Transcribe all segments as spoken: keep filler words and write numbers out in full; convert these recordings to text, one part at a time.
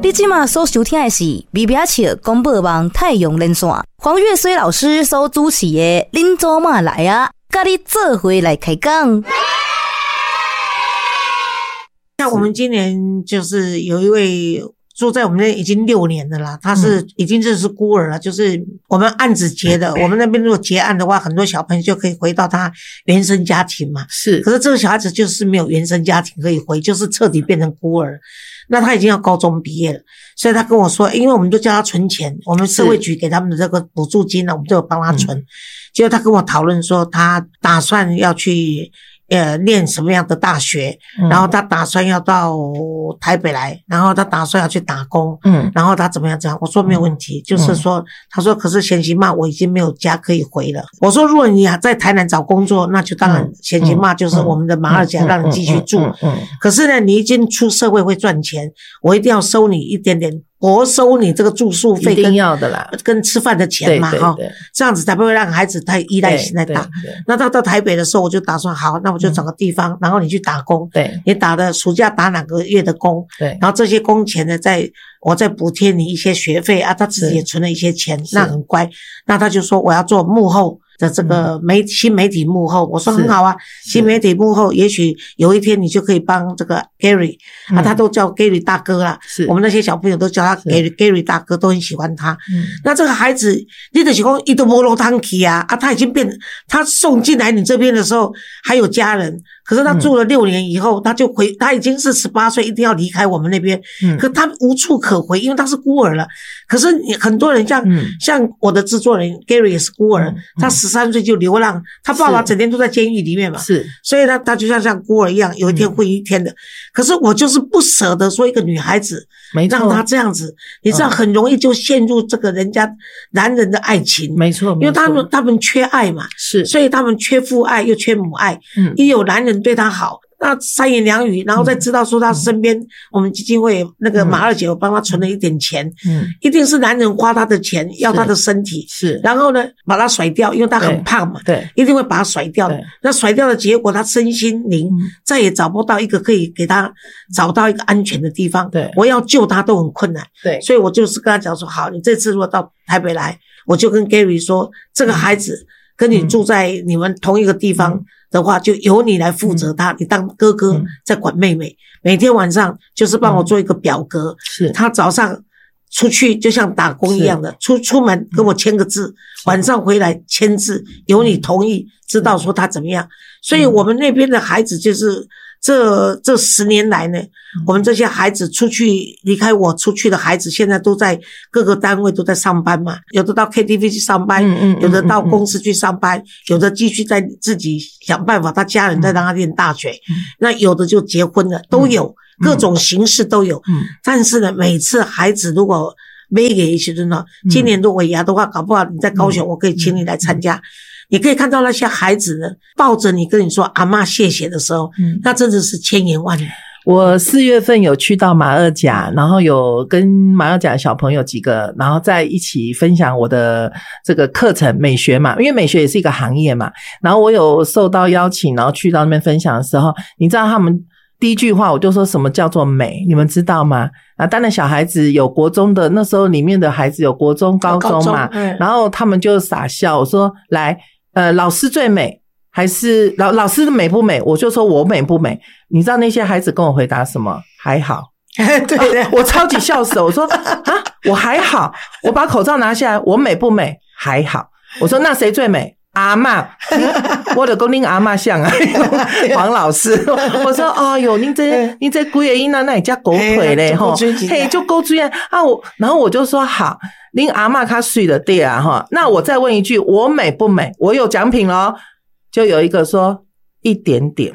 你這馬所收聽的是微微仔笑廣播網太陽連線黃越綏老師所主持的《恁祖媽來啊》，佮你做伙來開講。像我們今年就是有一位住在我們那已經六年的啦，他是已經這是孤兒了，就是我們案子結的，我們那邊如果結案的話，很多小朋友就可以回到他原生家庭嘛。是，可是這個小孩子就是沒有原生家庭可以回，就是徹底變成孤兒。那他已經要高中畢業了，所以他跟我說，因為我們都叫他存錢，我們社會局給他們的這個補助金呢，我們都有幫他存。結果他跟我討論說，他打算要去呃，念什麼樣的大學，然後他打算要到台北來，然後他打算要去打工，嗯，然後他怎麼樣怎樣？我說沒有問題，就是說，他說可是賢妻媽我已經沒有家可以回了。我說如果你還在台南找工作，那就當然賢妻媽就是我們的馬二甲，讓你繼續住。嗯，可是呢，你已經出社會會賺錢，我一定要收你一點點。沒收你這個住宿費，一定要的啦，跟吃飯的錢嘛，哈，這樣子才不會讓孩子太依賴性太大。那到到台北的時候，我就打算好，那我就找個地方，然後你去打工，對，你打的暑假打兩個月的工，對，然後這些工錢呢，再我再補貼你一些學費啊。他自己也存了一些錢，那很乖。那他就說我要做幕後的這個媒新媒體幕後，我說很好啊，新媒體幕後，也許有一天你就可以幫這個 Gary 啊，他都叫 Gary 大哥啦，是我們那些小朋友都叫他 Gary Gary 大哥，都很喜歡他。那這個孩子，你就是講伊都無路通去啊，啊，他已經變，他送進來你這邊的時候還有家人，可是他住了六年以後，他就回，他已經是十八歲，一定要離開我們那邊，可他無處可回，因為他是孤兒了。可是你很多人像像我的製作人 Gary 也是孤兒，他十三歲就流浪，他爸爸整天都在監獄裡面嘛，是，所以他他就像像孤兒一樣，有一天會一天的。可是我就是不捨得說一個女孩子，讓她這樣子，你知道很容易就陷入這個人家男人的愛情，沒錯，因為他們他們缺愛嘛，是，所以他們缺父愛又缺母愛，嗯，一有男人對他好，那三言兩語，然後再知道說他身邊，我們基金會那個馬二姐，我幫他存了一點錢，嗯，一定是男人花他的錢，要他的身體，是，然後呢，把他甩掉，因為他很胖嘛，對，一定會把他甩掉。那甩掉的結果，他身心靈再也找不到一個可以給他找到一個安全的地方，對，我要救他都很困難，對，所以我就是跟他講說，好，你這次如果到台北來，我就跟 Gary 說，這個孩子跟你住在你們同一個地方的話，就由你來負責他，你當哥哥在管妹妹。每天晚上就是幫我做一個表格。是，他早上出去就像打工一樣的，出出門跟我簽個字，晚上回來簽字，由你同意，知道說他怎麼樣。所以我們那邊的孩子就是這這十年來呢，我們這些孩子出去離開我出去的孩子，現在都在各個單位都在上班嘛，有的到 K T V 去上班，有的到公司去上班，有的繼續在自己想辦法，他家人在讓他念大學，那有的就結婚了，都有各種形式都有。但是呢，每次孩子如果沒給一些呢，今年如果尾牙的話，搞不好你在高雄，我可以請你來參加。你可以看到那些孩子呢，抱着你跟你說阿嬤謝謝的時候，那真的是千言萬語。我四月份有去到馬二甲，然後有跟馬二甲小朋友幾個，然後在一起分享我的這個課程美學嘛，因為美學也是一個行業嘛。然後我有受到邀請，然後去到那邊分享的時候，你知道他們第一句話我就說什麼叫做美，你們知道嗎？啊，當然小孩子有國中的，那時候裡面的孩子有國中、高中嘛，然後他們就傻笑。我說來，呃，老師最美還是老老師美不美？我就說我美不美？你知道那些孩子跟我回答什麼？還好。對對，我超級笑死。我說啊，我還好。我把口罩拿下來，我美不美？還好。我說那誰最美？阿嬤，我就講恁阿嬤像啊，黃老師。我說哎喲，恁這恁這幾个囡仔哪會遮古錘咧吼？嘿，足古錐啊！啊我，然後我就說好，恁阿嬤較媠就對啊哈。那我再問一句，我美不美？我有獎品咯。就有一個說一點點，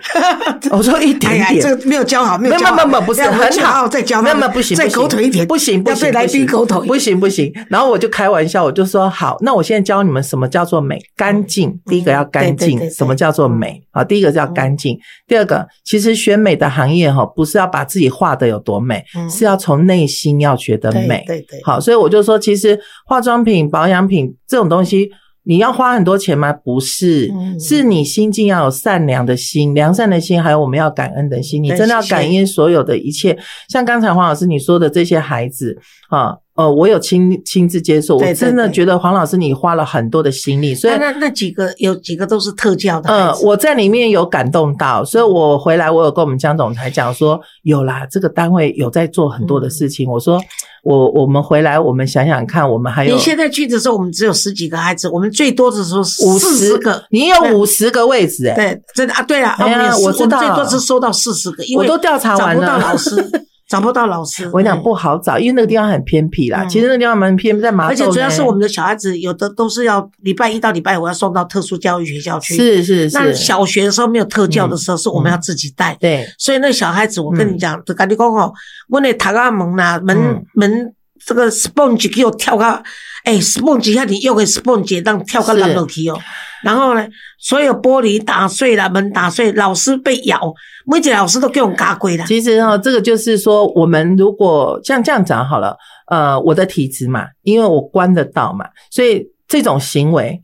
我說一點點，這個沒有教好，沒有教好，沒有沒有不是很好，再教，沒有沒有不行，再狗腿一點，不行不行，對來賓狗腿，不行不行。然後我就開玩笑，我就說好，那我現在教你們什麼叫做美，乾淨。第一個要乾淨，什麼叫做美？啊，第一個叫乾淨。第二個，其實選美的行業哈，不是要把自己畫得有多美，是要從內心要覺得美。對對。好，所以我就說，其實化妝品、保養品這種東西。你要花很多钱吗？不是，嗯是你心境要有善良的心、良善的心，还有我们要感恩的心。你对真的要谢谢感恩所有的一切。像刚才黄老师你说的这些孩子啊，呃，我有亲亲自接触，对我真的对对觉得黄老师你花了很多的心力，所以那那那几个有几个都是特教的孩呃，子。我在里面有感动到，所以我回来我有跟我们江总裁讲说，有啦，这个单位有在做很多的事情。我说，我我们回来，我们想想看，我们还有你现在去的时候，我们只有十几个孩子，我们最多的时候五四十个。你有五十个位置哎。对，真的啊，对了，哎呀我们也是我知道。我们最多是收到四十个，因为我都调查完了。找不到老师，找不到老师。我跟你讲不好找，因为那个地方很偏僻啦。嗯其实那个地方蛮偏，在麻豆而且主要是呢我们的小孩子有的都是要礼拜一到礼拜五要送到特殊教育学校去。是是是，那小学的时候没有特教的时候，是我们要自己带。对所以那小孩子，我跟你讲，就共你讲哦，阮的读仔门啦，门嗯门这个 sponge 予跳甲，欸，sponge 遐尔幼的 sponge 会当跳甲烂落去哦。然后呢，所有玻璃打碎了，门打碎，老师被咬，每一个老师都予人咬过啦。其实哈，这个就是说，我们如果像这样讲好了，呃，我的体质嘛，因为我观得到嘛，所以这种行为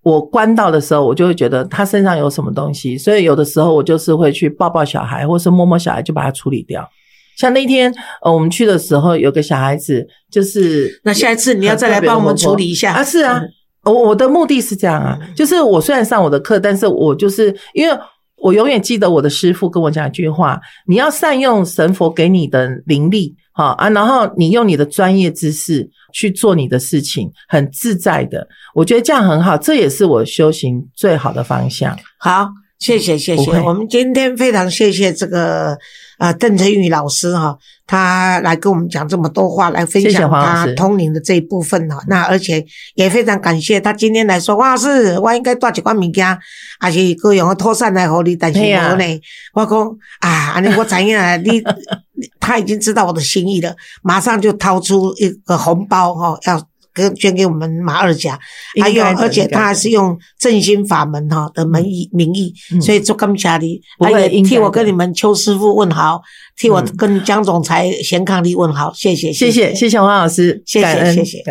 我观到的时候，我就会觉得他身上有什么东西，所以有的时候我就是会去抱抱小孩，或是摸摸小孩，就把它处理掉。像那天呃，我们去的时候，有个小孩子就是那下一次你要再来帮我们处理一下。啊，是啊，我我的目的是这样啊，就是我虽然上我的课，但是我就是因为我永远记得我的师父跟我讲一句话：你要善用神佛给你的灵力，哈啊，然后你用你的专业知识去做你的事情，很自在的。我觉得这样很好，这也是我修行最好的方向。好，谢谢谢谢，不会。我们今天非常谢谢这个呃邓成宇老师哈，他来跟我们讲这么多话，来分谢谢享黄老师。他通灵的这一部分哈。那而且也非常感谢他今天来说，黄老师，我应该带一寡物件，抑是高雄的土产来予你，但是嘿啊无呢。我讲啊，按呢我知影你，他已经知道我的心意了，马上就掏出一个红包哈，要给捐给我们马二甲。还有，应该的而且应该的他还是用正心法门哈的门义名义，嗯所以足感谢你，不会还有应该的替我跟你们邱师傅问好，替我嗯跟江总裁贤伉俪问好，谢谢。谢谢谢谢黄老师，谢谢感恩。谢谢。